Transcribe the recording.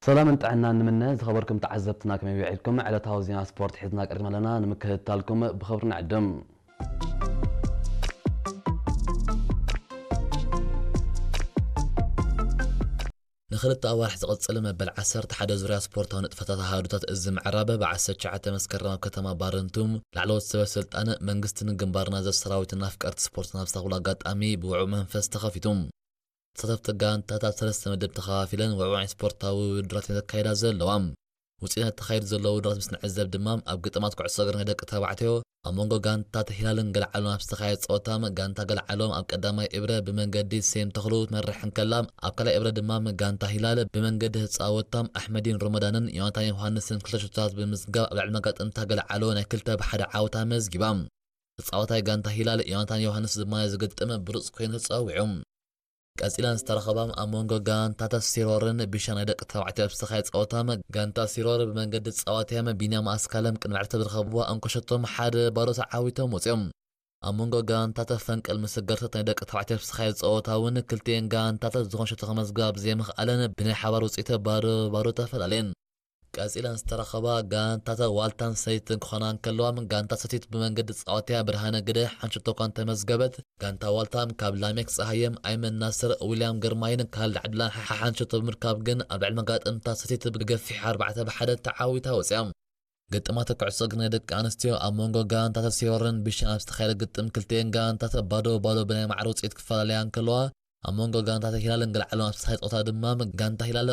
ሰላምን ጥዕናን ንምነ። ዝኸበርኩም ተዓዘብትና ከመይ ውዒልኩም? ዕለታዊ ዜና ስፖርት ሒዝና ቀሪብና ኣለና፣ ንምክትታልኩም ብኽብሪ ንዕድም። ንኽልተ ኣዋርሕ ዝቕጽል መበል ዓሰርተ ሓደ ዙርያ ስፖርታዊ ንጥፈታት ኣሃዱታት እዚ ምዕራብ ብ ዓሰርተ ትሽዓተ መስከረም ኣብ ከተማ ባረንቱ ላዕለዎት ሰበ ስልጣን መንግስትን ግንባር ናዘር ሰራዊትን ኣፍቀርቲ ስፖርትን ኣብ ዝተረኽብሉ ኣጋጣሚ ብውዑይ መንፈስ ተኸፊቱ። ተሳተፍቲ ጋንታታት ሰለስተ መደብ ተኸፋፊለን ውዕዋዕ ስፖርታዊ ውድድራት እየን ዘካይዳ ዘለዋ። ውፅኢት ተኻይዱ ዘሎ ውድድራት ምስ ንዕዘብ ድማ ኣብ ግጥማት ኩዕሶ እግሪ ናይ ደቂ ተባዕትዮ ኣብ መንጎ ጋንታታት ሂላልን ገልዓሎም ኣብ ዝተኻየደ ፀወታ ጋንታ ገልዓሎም ኣብ ቀዳማይ እብረ ብመንገዲ ሴም ተኽሉ ትመርሕ እንከላ ኣብ ካልኣይ እብረ ድማ ጋንታ ሂላል ብመንገዲ ህፃወታ ኣሕመዲን ሮመዳንን ዮናታን ዮሃንስን ክልተ ሹታት ብምዝጋብ ኣብ ልዕሊ መጋጥምታ ገልዓሎ ናይ ክልተ ብሓደ ዓወታ መዝጊባ። ተፃዋታይ ጋንታ ሂላል ዮናታን ዮሃንስ ድማ ዝግጥም ብሉፅ ኮይኑ ተፀዊዑ። ቀጺለን ዝተረኸባ ኣብ መንጎ ጋንታታት ሲሮርን ቢሻን ናይ ደቂ ተባዕትዮ ኣብ ዝተኻየደ ጸወታ ጋንታ ሲሮር ብመንገዲ ጸዋትያም ቢንያም ኣስካለም ቅድሚ ዕረፍቲ ብዝረኸብዋ እንኮ ሸቶም ሓደ ባዶ ተዓዊቶም ወጺኦም። ኣብ መንጎ ጋንታታት ፈንቅል ምስገርተት ናይ ደቂ ተባዕትዮ ኣብ ዝተኻየደ ጸወታ እውን ክልቲኤን ጋንታታት ዝኾነ ሸቶ ከመዝግባ ብዘይምኽኣለን ብናይ ሓባር ውጽኢት ባዶ ባዶ ተፈላለየን። ቀጺለን ዝተረኸባ ጋንታታት ዋልታን ሰቲትን ክኾና እንከለዋ፣ ጋንታ ሰቲት ብመንገዲ ጻወትያ ብርሃነ ግደ ሓንቲ ሸቶ እኳ እንተመዝገበት፣ ጋንታ ዋልታ ካብ ላሜክ ጸሃየም፣ ኣይመን ናስር፣ ዊልያም ግርማይን ካልድ ዓብድላን ሓሓንቲ ሸቶ ብምርካብ ግን ኣብ ልዕሊ መጋጥምታ ሰቲት ብገፊሕ ኣርባዕተ ብሓደ ተዓዊታ ወጺኣ። ግጥማት ኩዕሶ እግሪ ናይ ደቂ ኣንስትዮ ኣብ መንጎ ጋንታታት ሲሮርን ቢሻን ኣብ ዝተኻየደ ግጥም ክልቲኤን ጋንታታት ባዶ ባዶ ብናይ ማዕረ ውጽኢት ክፈላለያ እንከለዋ፣ ኣብ መንጎ ጋንታታት ሂላልን ገልዓሎም ኣብ ዝተኻየደ ጸወታ ድማ ጋንታ ሂላል